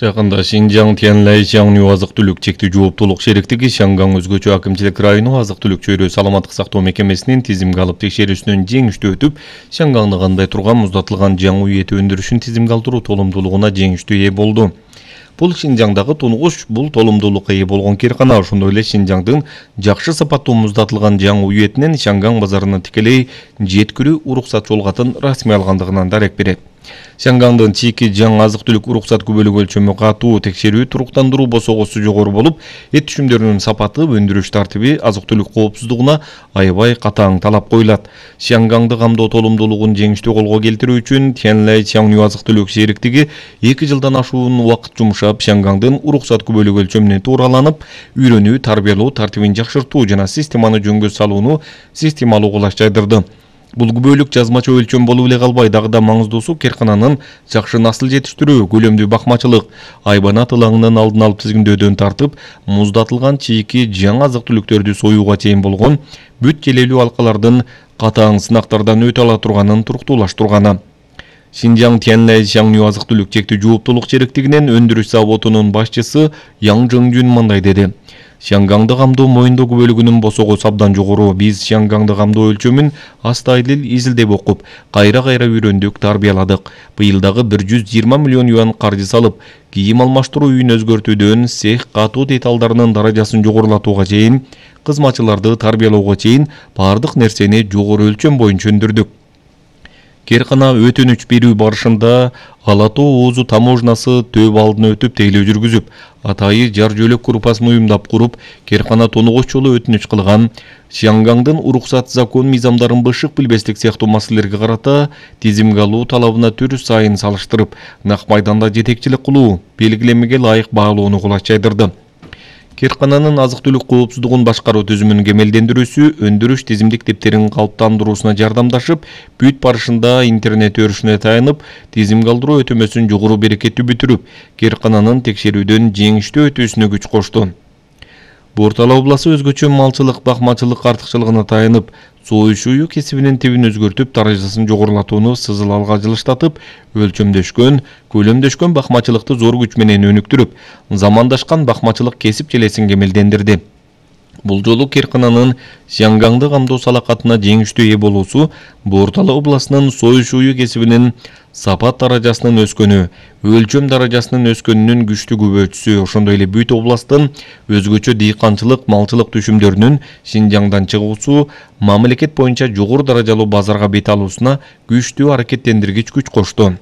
Жакында Шинжаң Тяньлай Чаңню азык-түлүк чектүү жооптуулук шериктиги Шанган өзгөчө акимчилик району азык-түлүк чөйрө саламаттык сактоо мекемесинин тизимге алып текшерүүсүнөн жеңиштүү өтүп, Шангаңды кандай турган муздатылган жаң үй эти өндүрүшүн тизимге алдыруу толумдуулугуна жеңиштүү ээ болду. Бул Шинжаңдагы тунгуч бул толумдуулукка ээ болгон киркана, ошондой эле Шинжаңдын жакшы сапаттуу муздатылган жаң үй этинин Шанган базарына тикелей жеткирүү уруксат жолгатын расмий алгандыгынан дарек берет. Шангаңдын чийки жаң азык-түлүк уруксат күбөлүк өлчөмү катуу, текшерүү туруктандыруу босогосу жогору болуп, эт түшүмдөрүнүн сапаты, өндүрүш тартиби, азык-түлүк коопсуздугуна аябай катаң талап коюлат. Шангаңды камдоо толумдуулугун жеңиштүү колго келтирүү үчүн Тяньлай Чаңню азык-түлүк шериктиги 2 жылдан ашуун убакыт жумшап, Шангаңдын уруксат күбөлүк өлчөмүнө туураланып, үйрөнүү, тарбиялоо тартибин жакшыртуу жана системаны жөнгө салууну системалуу кылаш жайдырды. Бул күбөлүк жазмача өлчөм болуп эле калбай, дагы да маңыздуусу киркананын жакшы насыл жетиштирүү, көлөмдүү бакмачылык, айбанат ылаңынын алдын алып тизгиндөөдөн тартып, муздатылган чийки жаң азык-түлүктөрдү союуга чейин болгон бүт желелүү алкалардын катаң сынактардан өтө ала турганын туруктуулаштырганы. Шинжаң Тяньлай Чаңню азык-түлүк чектүү жооптуулук шериктигинин өндүрүш заводунун башчысы Яң Жыңжүн мындай деди: Шангаңды камдоо моюндоо күбөлүгүнүн босогосу абдан жогору. Биз Шангаңды камдоо өлчөмүн астайыл изилдеп окуп, кайра үйрөндүк, тарбияладык. Быйыл дагы 120 миллион юан каржы салып, кийим алмаштыруу үйүн өзгөртүүдөн цех катуу деталдарынын даражасын жогорулатууга чейин, кызматчыларды тарбиялоого чейин бардык нерсени жогору өлчөм боюнча өндүрдүк. Киркана өтүнүч берүү барышында Ала Тоо Оозу таможнасы төп алдын өтүп тейлөө жүргүзүп, атайы жар жөлөк группасын уюмдап куруп, Киркана тонугуч жолу өтүнүч кылган, Шангаңдын уруксат закон мыйзамдарын бышык билбестик сыяктуу маселелерге карата тизимге алуу талабына түр сайын салыштырып, нак майданда жетекчилик кылуу, белгилемеге ылайык баалоону кулач жайдырды. Киркананын азык-түлүк коопсуздугун башкаруу түзүмүн кемелдендирүүсү өндүрүш тизимдик типтерин калыптандыруусуна жардамдашып, бүт барышында интернет өрүшүнө таянып, тизимге алдыруу өтөмөсүн жогору берекеттүү бүтүрүп, Киркананын текшерүүдөн жеңиштүү өтүүсүнө күч кошту. Бортала областы өзгөчө малчылык, бакмачылык артыкчылыгына таянып, союш ую кесибинин тибин өзгөртүп, даражасын жогорулатууну сызыл алга жылыштатып, өлчөмдөшкөн, көлөмдөшкөн бакмачылыкты зор күч менен өнүктүрүп, замандашкан бакмачылык кесип желесин кемелдендирди. Бул жолу Киркананын Шангаңды камдоо салакатына жеңиштүү ээ болуусу Бортала областынын союш ую кесибинин сапат даражасынын өскөнү, өлчөм даражасынын өскөнүнүн күчтүү күбөчүсү, ошондой эле бүт областтын өзгөчө дыйканчылык, малчылык түшүмдөрүнүн Шинжаңдан чыгуусу, мамлекет боюнча жогору даражалуу базарга бет алуусуна күчтүү аракеттендиргич күч кошту.